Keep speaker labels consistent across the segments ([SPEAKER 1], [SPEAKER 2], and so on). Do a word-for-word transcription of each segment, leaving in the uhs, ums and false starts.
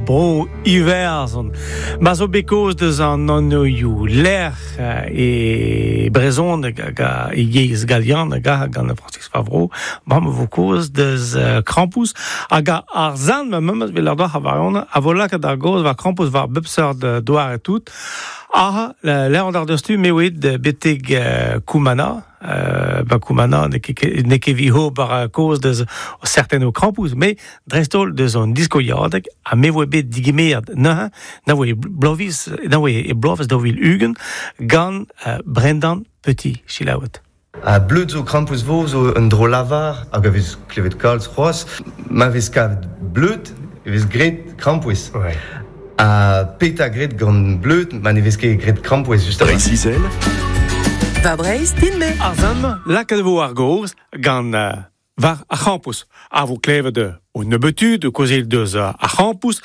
[SPEAKER 1] bro Iwerzhon. Ma zo bet kaoz deus an anvioù lec'h e brezhoneg hag e yezh galian hag gant Francis Favreau, bremañ vo kaoz deus krampouezh hag ar zan ma memes vel ar doc'h a varion a vo lakaet ar gaoz war krampouezh war bep seurt doare tout. Ah, l'er an ar deus-tu me oet betek Koumana, euh, ba Koumana n'eo ket evit ober kaoz deus serten o krampouezh, me dreist-holl deus an diskoiadeg ha me voe bet digemeret neuze, na voe bloavezh, na voe e bloavezh daou vil ugent gant uh, Brendan Petit, selaouet.
[SPEAKER 2] Ha bleud zo krampouezh vo zo un dro lavar hag a vez klevet kalz c'hoazh. Ma vez kavet bleud e vez graet krampouezh.
[SPEAKER 1] Ouais.
[SPEAKER 2] Ha petra graet gant bleud ma ne vez ket graet krampouezh just a
[SPEAKER 3] Breizh-Izel.
[SPEAKER 4] Va Breizh din-me.
[SPEAKER 1] Ar zan lakaet vo ar gaoz gant uh, war ar c'hrampouezh. A vo klevet o nebetud, o kaozeal deus ar c'hrampouezh.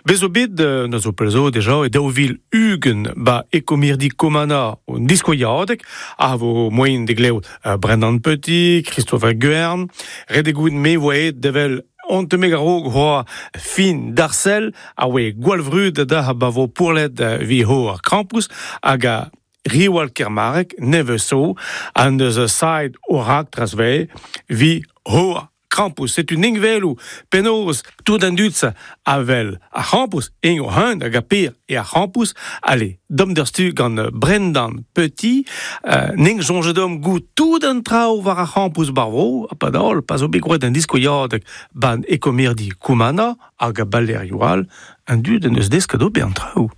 [SPEAKER 1] Bez zo bet, na zo pell zo deja, e daou vil ugent ba ekomirdi Komana un diskoiadeg, a vo moaien de glev uh, Brendan Petit, Christopher Guern, ret eo goût me voe devel on te meg a-raok hoa fin d'Arcel, a oe gwall vrud da ba vo pourlet vi ho ar krampouezh, hag a Riwal Kermarek, neve so, an deus a said o rak trasve, vi ho krampouezh. Setu ning velou penaos tout an dud a vel ar c'hrampouezh, eng o hunt hag a per e ar c'hrampouezh. Allez, dom d'ur stu gant Brendan Petit, euh, ning soñjet dom goût tout an traoù war ar c'hrampouezh barvo, ha pa daol, pa zo bet groet an diskoiadeg ban ekomirdi Koumana hag a balerioù all, an dud en eus desket ober an traoù.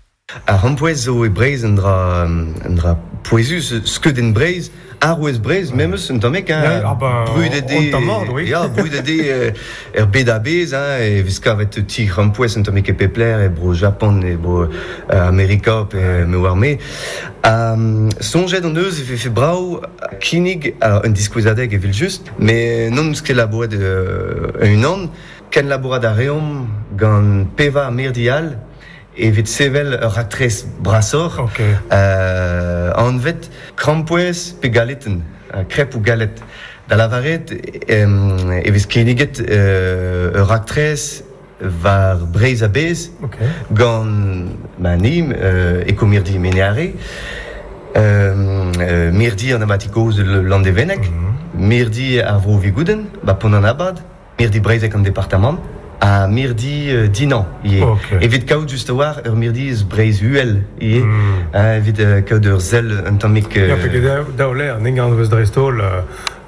[SPEAKER 2] Ar c'hrampouezh zo e Breizh un dra, un dra pouezus, skeudenn Breizh, arouez Breizh, memes un tammig, hein,
[SPEAKER 5] Ja, ah bah,
[SPEAKER 2] brudet
[SPEAKER 5] on tamm oui.
[SPEAKER 2] Ya, brudet eo er bed a-bezh, hein, e vez kavet ti krampouezh un tammig e pep lec'h, e bro Japan, e bro euh, Amerika, pe me oar me. Um, soñjet hon eus e vefe brav kinnig, alors, un diskouezadeg evel just, mais n'hon eus ket labouret euh, unan, ken labourat a reomp gant pevar mirdi all, evit sevel ur raktres brasoc'h.
[SPEAKER 5] Ok.
[SPEAKER 2] Euh, anvet krampouezh pe galetenn, euh, crêpe ou galette. Da lavaret euh, e vez kinniget euh, ur raktres war Breizh a-bezh
[SPEAKER 5] Ok.
[SPEAKER 2] gant ma nim euh, ekomirdi Mene Are, euh, euh, mirdi an abati kozh Landevenneg,
[SPEAKER 5] Mm -hmm.
[SPEAKER 2] mirdi ar Vro Vigoudenn, ba Pont-an-Abad, mirdi breizhek an departamant, ha mirdi euh, Dinan ivez.
[SPEAKER 5] Ok.
[SPEAKER 2] Evit kaout just a-walc'h ur mirdi eus Breizh Uhel ivez,
[SPEAKER 5] Mm.
[SPEAKER 2] euh, evit euh, kaout ur sell un tammig... Euh...
[SPEAKER 5] Ya, peget daou lec'h, n'en gant eus dreist-holl euh,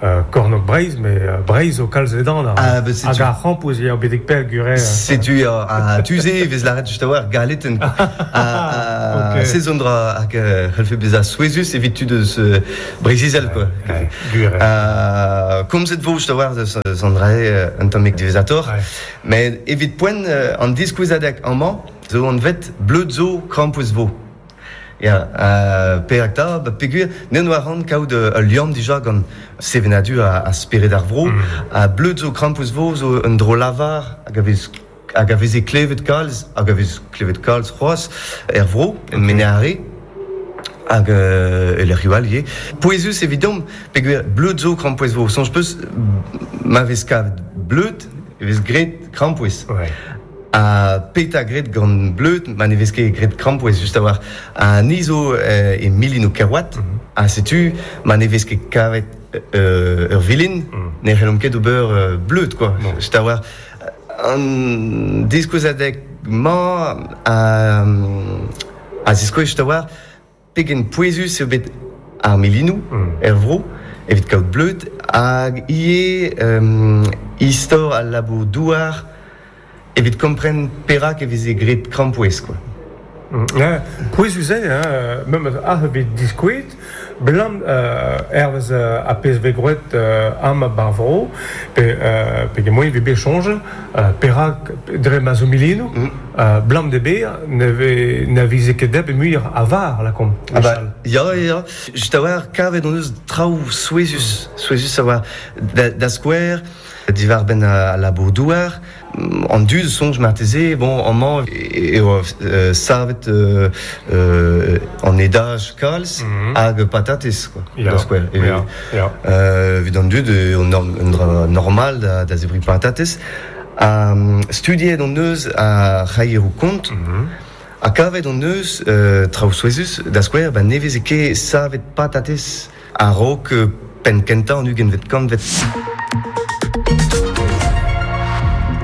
[SPEAKER 5] euh, kornôg Breizh, mais euh, Breizh zo kalz ledan ar.
[SPEAKER 2] Ah, bah, setu...
[SPEAKER 5] Hag ar c'hrampouezh eo betek pell gure.
[SPEAKER 2] Setu ha tu-se e vez lâret just a-walc'h galetenn. Ha
[SPEAKER 5] Ok.
[SPEAKER 2] se zo un dra hag euh, c'hellfe bezañ souezhus evit tud eus euh, Breizh-Izel, quoi.
[SPEAKER 5] Ouais, gwir.
[SPEAKER 2] Euh, komzet vo just a-walc'h deus an dra-se un tammig diwezhatoc'h.
[SPEAKER 5] Ouais.
[SPEAKER 2] Mais evit poent euh, an diskouezadeg amañ zo anvet bleud zo krampouezh vo. Ya, euh, perak 'ta, ba peogwir, n'en oa ran kaout ul liamm dija gant sevenadur ha, ha spered ar vro,
[SPEAKER 5] Mm.
[SPEAKER 2] ha bleud zo krampouezh vo zo un dro lavar hag a vez hag a veze klevet kalz, hag a vez klevet kalz c'hoazh er vro, en
[SPEAKER 5] Ok.
[SPEAKER 2] Mene Are, hag euh, e lec'hioù all ivez. Pouezus evidomp, peogwir bleud zo krampouezh vo. Soñj peus, ma vez kavet bleud, e vez graet krampouezh.
[SPEAKER 5] Ouais.
[SPEAKER 2] Ha petra graet gant bleud, ma ne vez ket graet krampouezh just a-walc'h. Ha ni zo euh, e milinoù Kerouat,
[SPEAKER 5] Mm -hmm.
[SPEAKER 2] ha setu ma ne vez ket kavet euh, ur vilin,
[SPEAKER 5] Mm.
[SPEAKER 2] ne c'hellomp ket ober euh, bleud, quoi.
[SPEAKER 5] Non.
[SPEAKER 2] Just a-walc'h. An diskouezadeg-mañ a, a ziskouez just a-walc'h pegen pouezus eo bet ar milinoù
[SPEAKER 5] Mm.
[SPEAKER 2] er vro, evit kaout bleud, hag ivez euh, istor al labour douar evit kompren perak e veze graet krampouezh, quoi.
[SPEAKER 5] Mm. Ja, pouezus eo, hein, memes ar bet diskouet, blam euh, hervez euh, a pezh vez groet euh, am bar vro, pe, euh, pe moyen vez bet soñjal, euh, perak dre ma zo milinoù,
[SPEAKER 2] Mm.
[SPEAKER 5] euh, blam de ber ne ve na vize ket deb e muioc'h a var, lakaomp.
[SPEAKER 2] Ah bah, ya, ya, ya. Just a-walc'h kavet hon eus traoù souezhus, souezhus a-walc'h da, da skouer, diwar-benn al labour douar, an dud soñj marteze, bon, amañ eo euh, savet euh, euh, an edaj kalz
[SPEAKER 5] Mm -hmm.
[SPEAKER 2] hag patatez, quoi,
[SPEAKER 5] Ya,
[SPEAKER 2] da skouer. E,
[SPEAKER 5] ya, ya.
[SPEAKER 2] euh, evit an dud, eo un, un dra normal da, da zebriñ patatez. Ha studiet hon eus ar c'haieroù kont, mm -hmm. Ha kavet hon eus euh, traoù souezhus, da skouer, ba ne veze ket savet patatez a-raok penn kentañ an ugentvet kantved.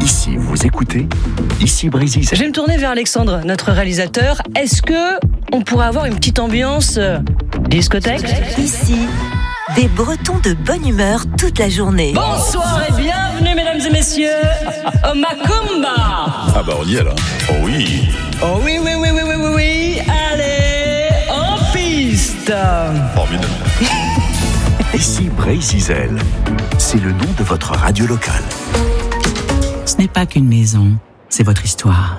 [SPEAKER 3] Ici, vous écoutez, ici Brésil.
[SPEAKER 4] Je vais me tourner vers Alexandre, notre réalisateur. Est-ce que on pourrait avoir une petite ambiance discothèque ?
[SPEAKER 6] Ici, des Bretons de bonne humeur toute la journée.
[SPEAKER 4] Bonsoir et bienvenue, mesdames et messieurs, au Macumba.
[SPEAKER 7] Ah bah on y est là. Oh oui.
[SPEAKER 4] Oh oui, oui, oui, oui, oui, oui, oui. Allez, en piste.
[SPEAKER 7] Formidable.
[SPEAKER 3] Ici Breizh-Izel, c'est le nom de votre radio locale.
[SPEAKER 8] Ce n'est pas qu'une maison, c'est votre histoire.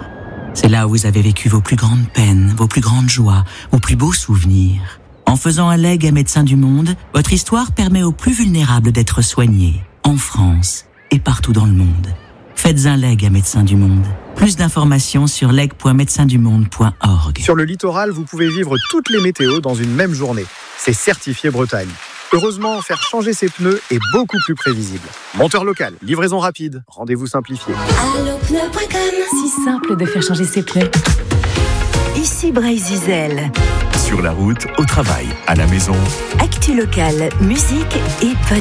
[SPEAKER 8] C'est là où vous avez vécu vos plus grandes peines, vos plus grandes joies, vos plus beaux souvenirs. En faisant un legs à Médecins du Monde, votre histoire permet aux plus vulnérables d'être soignés, en France et partout dans le monde. Faites un legs à Médecins du Monde. Plus d'informations sur leg point médecins du monde point org.
[SPEAKER 9] Sur le littoral, vous pouvez vivre toutes les météos dans une même journée. C'est certifié Bretagne. Heureusement, faire changer ses pneus est beaucoup plus prévisible. Monteur local, livraison rapide, rendez-vous simplifié.
[SPEAKER 6] Allopneu point com.
[SPEAKER 10] Si simple de faire changer ses pneus.
[SPEAKER 6] Ici Breizh-Izel.
[SPEAKER 3] Sur la route, au travail, à la maison.
[SPEAKER 6] Actu locale, musique et bonne